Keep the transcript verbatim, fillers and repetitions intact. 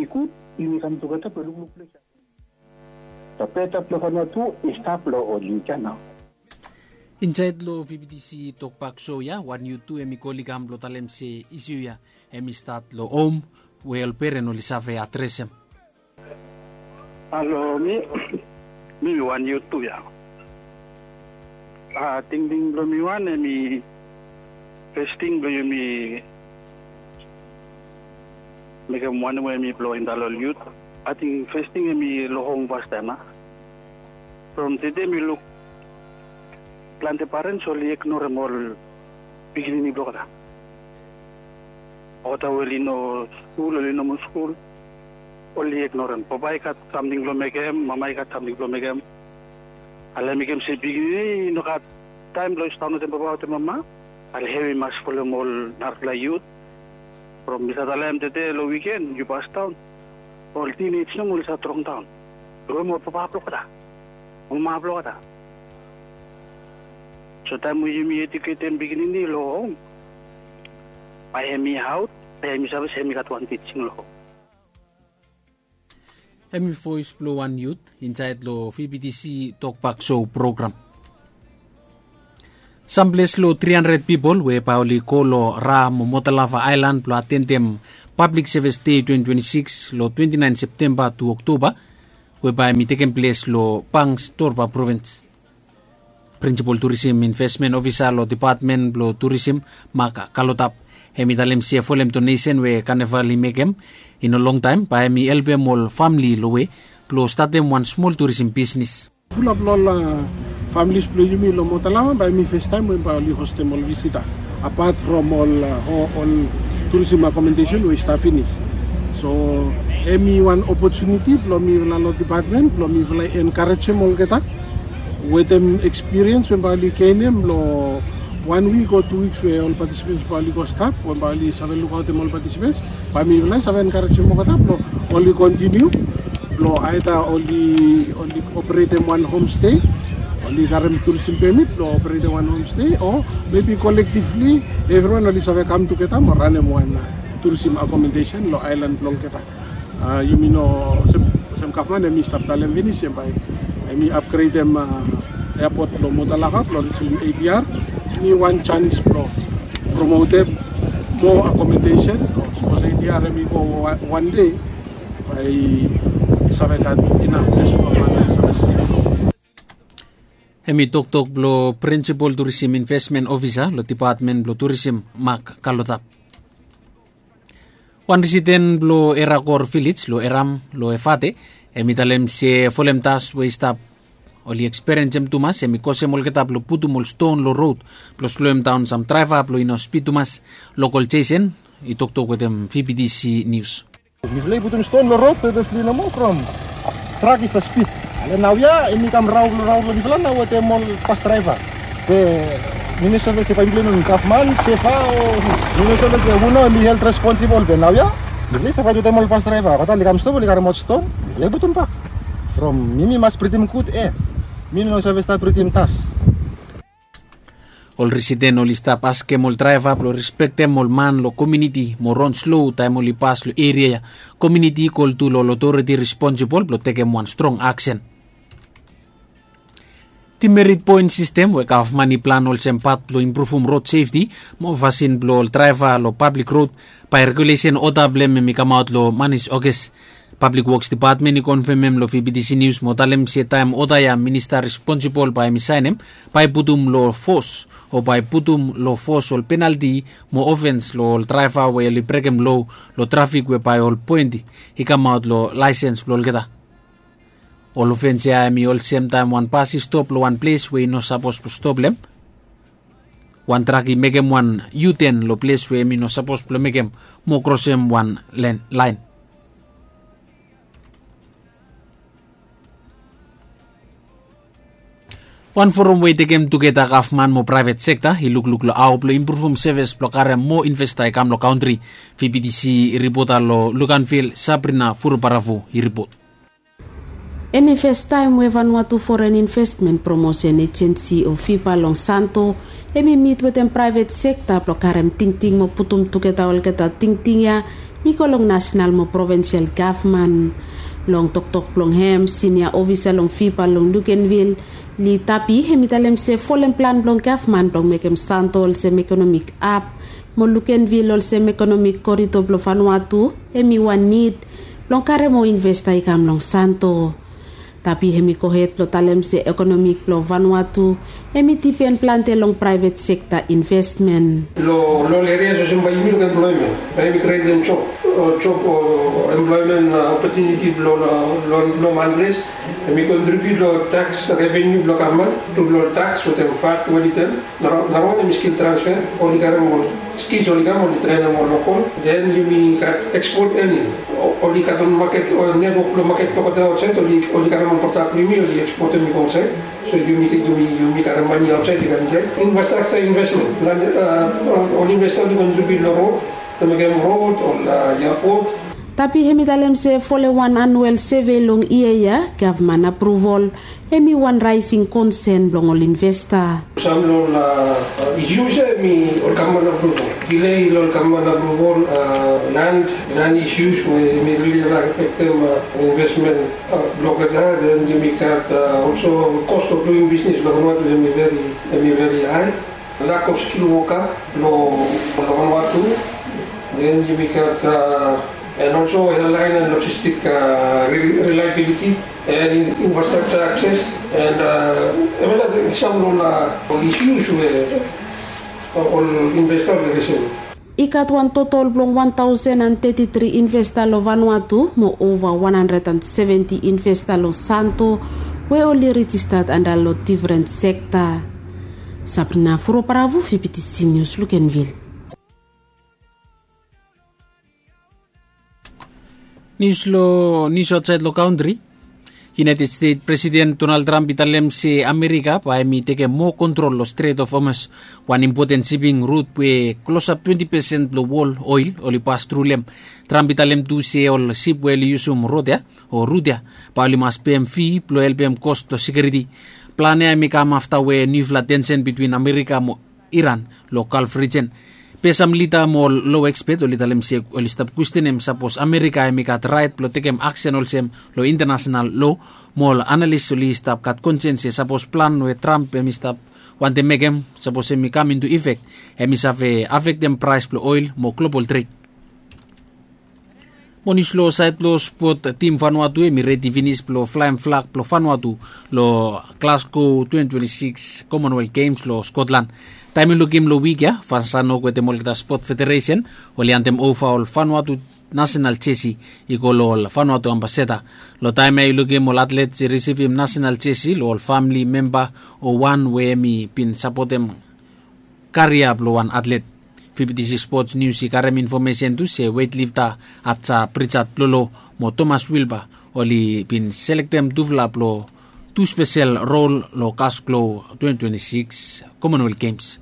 Gud, yumi kam tugeta blong lukluk ples ya. Tapeta blong Vanuatu i stap long ol yut ya nao. Insaed long V B T C Tokbak Show ya, wan yut tu hemi kol i kam blong talem se isiu ya hemi stat long hom we ol peren oli save adresem. Halo, mi, mi wan yut tu ya. A, tingting blong mi wan hemi, fes ting blong yumi mekem wanem we hemi blong indaol ol yut. Ating fes ting hemi long hom fastaem, a. From tede mi luk plante parens oli ignorem ol pikinini blong olgeta. Olgeta we oli no skul, oli no moa skul, oli ignorem. Papa i gat samting blong mekem, mama i gat samting blong mekem. Ale mekem se pikinini i no gat taem blong i sidaon wetem papa wetem mama. Ale hem i mas folem ol narafala yut. From mi save talem tede long wiken, yu pasdaon. Ol tinej nomo oli save trongdaon. From ol papa blong olgeta, ol mama blong olgeta. So taem we yumi ejuketem pikinini long hom, bae hemi aot, bae hemi save se hemi gat wan tijing long hom. Hemi voes blong wan yut insaed long V B T C Tokbak Show program. Sam ples long tri handred pipol we bae oli go long Ra mo Motalava Aelan blong atendem Pablik Sevis Dei twenti twenti sikis long twenti naen Septemba tu Oktaba, we bae hemi tekem ples long Pangchetjunga Provins. Prinsipol Turisim Invesmen Ofisa long Depatmen blong Turisim, Mak Kalotap, hemi talem se folem donesen we Kaneval i mekem i no longtaem, bae hemi helpem ol famle long we blong statem wan smol turisim bisnis. Fulap long ol, a, familis blong yumi long Motalava, bae hemi festaem we bae oli hostem ol visita, apat from ol, a, o-, ol turisim akomodesen we i stap finis. So hemi wan opotuniti blong mifala long depatmen blong mifala i enkarejem olgeta wetem ekspiriens we bae oli genem long wan wik o tu wiks we ol patisipens bae oli go stap, we bae oli save lukaotem ol patisipens. Bae mifala i save enkarejem olgeta blong oli kontiniu blong aeda oli, oli operetem wan homstei, oli karem turisim pemit blong operetem wan homstei, o mebi kolektivli evriwan oli save kam tugeta mo ranem wan, a, turisim akomodesen long aelan blong olgeta. A, yumi no, olsem, olsem gavman hemi stap talem finis, hemi bae hemi apgredem, a, eapot blong Motalava blong risim A D R. Hemi wan janis blong promotem moa akomodesen. Sapos A D R hemi go wa-, wan dei, bae i save gat inaf ples blong man i save stap. Hemi toktok blong Prinsipol Turisim Invesmen Ofisa long Depatmen blong Turisim, Mak Kalotap. Wan risiden blong Erakor Vilej long Eram long Efate, hemi talem se folem das we i stap oli ekspiriensem tumas, hemi kosem olgeta blong putum ol ston long rod blong sloemdaon sam draeva blong i no spid tumas. Lokol Jesen i toktok wetem V B T C Nius. Mifala i putum ston long rod pepesli nomo from trak i stap spid. Ale naoia hemi kam rao blong, rao blong mifala nao wetem ol bas draeva. Be mi no save se bae mifala i no gavman, seva, o mi no save se hu nao hemi helt responsibol, be naoia mifala i stap faet wetem ol bas draeva. Olgeta oli kam stop, oli karemaot ston, mifala i putum bak. From mi, mi mas britim gud ea. Mi no save stap britim das. Ol risiden oli stap askem ol draeva blong respektem ol man long komuniti mo ron slo taem oli pas long eria ya. Komuniti i kol tu long ol otoriti responsibol blong tekem wan strong aksen. Dimerit poen sistem we gavman i plan olsem pat blong impruvum rod sefti mo fasin blong ol draeva long pablik rod, bae regulesen oda blong hem hemi kamaot long manis Oges. Pablik Woks Depatmen i konfemem long V B T C Nius mo talem se taem oda ya minista responsibol bae hemi saenem, bae i putum long fos, o bae i putum long fos ol penalti mo ofens long ol draeva we oli brekem loa long trafik we bae ol poenti i kamaot long laesens blong olgeta. Ol ofens ya hemi olsem taem wan bas i stop long wan ples we i no sapos blong stop long hem. Wan trak i mekem wan U-turn long ples we hemi no sapos blong mekem mo krosem wan len-, laen. Wan forum we i tekem tugeta gavman mo praevet sekta i lukluk long hao blong impruvum sevis blong karem moa investa i kam long kantri. V B T C ripota long Luganville, Sabrina Furubaravu i ripot. Hemi festaem we Vanuatu Foren Investmen Promosen Ejensi o VFIPA long Santo hemi mit wetem praevet sekta blong karem tingting mo putum tugeta olgeta tingting ya I go long nasenal mo provensial gavman. Long toktok blong hem sinia ofisa long fifa long lukenvil, li tapi hem i talem se folem plan blong gavman blong mekem santo olsem ekonomik ap mo lukenvil olsem ekonomik korido blong vanua tu, hem i wan nid blong karem ol investa i kam long santo. Tapi hem i gohed blong talem se ekonomik blong vanua tu hem i dipen plante long praevet sekta investmen. Long ol eria olsem bae yumi luk emploemen, bae yumi krietem job, job o emploemen opotuniti blong long man ples. Hem i kontribiut long taks reveniu blong gavman tu long taks wetem vat we oli pem. Narawan hem i skil transfe, oli karem ol skils oli kam oli trenem ol lokol. Den yumi gat ekspot ening, oli gat ol maket ol netwok blong maket blong gode aotsaed, oli karem ol prodak blong yumi oli ekspotem i go aotsaed. So yumi gat mani aotsaed i kam insaed. Infrastraksa investmen, ol investa oli kontribiut long rod, long mekem rod ol, iapot. Tapi hem i talem se folem wan anuel seve long yia ya gavman apruvol hem i wan raesing konsen blong ol investa. Sam long ol isius ya hem i ol gavman apruvol, dilei long ol gavman apruvol, lan isius we hem i rili afektem investmen blong olgeta. Den yumi gat olso kos blong duing bisnes long vanua tu hem i veri hae. Lak of skil woka long vanua tu. Den yumi gat en olso ealaen en lojistik, rilaebiliti en infrastraksa akses en evriting. Sam long ol isius we ol investa we resem. I gat wan totol blong wan taosen an teti tri investa long vanua tu mo ova wan handred an seventi investa long santo we oli rejistat anda long difren sekta. Sabrina furo paravu fibitisi nius lukenvil. Nius long nius aotsaed long kantri. United stet presiden donald tramp i talem se amerika bae hem i tekem moa kontrol long stret of homes, wan impoten siping rut we klosap twenti pesen blong wol oel oli pas tru long hem. Tramp i talem tu se ol sip we oli yusum rod ya o rut ya bae oli mas pem fi blong helpem kos blong sekiuriti. Plan ya hem i kam afta we niufala tensen bitwin amerika mo iran long galf rijen. Be sam lida mo ol lo ekspet oli talem se oli stap kwestenem sapos amerika hem i gat raet blong tekem aksen olsem long intanasenal lo. Mo ol analis oli stap gat konsen se sapos plan we tramp hem i stap wantem mekem sapos hem i kam intu ifek, hem i save afektem praes blong oel mo global tret. Mo nius long saed blong spot, tim vanua tu hem i redi finis blong flaem flak blong vanua tu long glasgow twenty twenty six commonwealth games long skotlan. Taem yu lukim long wik ya fansano wetem olgeta spot federesen oli antem ova ol vanua tu nasenal jesi i go long ol fanua tu ambaseta. Long taem ya yu lukim ol atlet i risivim nasenal jesi long ol famili memba o wan we hem i bin sapotem karia blong wan atlet. Fifti sikis spots nius i karem infomesen tu se wetlifta atsa prijat blolo mo tomas wilba oli bin selektem tufala blong tu spesel rol long gasklo twenty twenty six commonwealth games.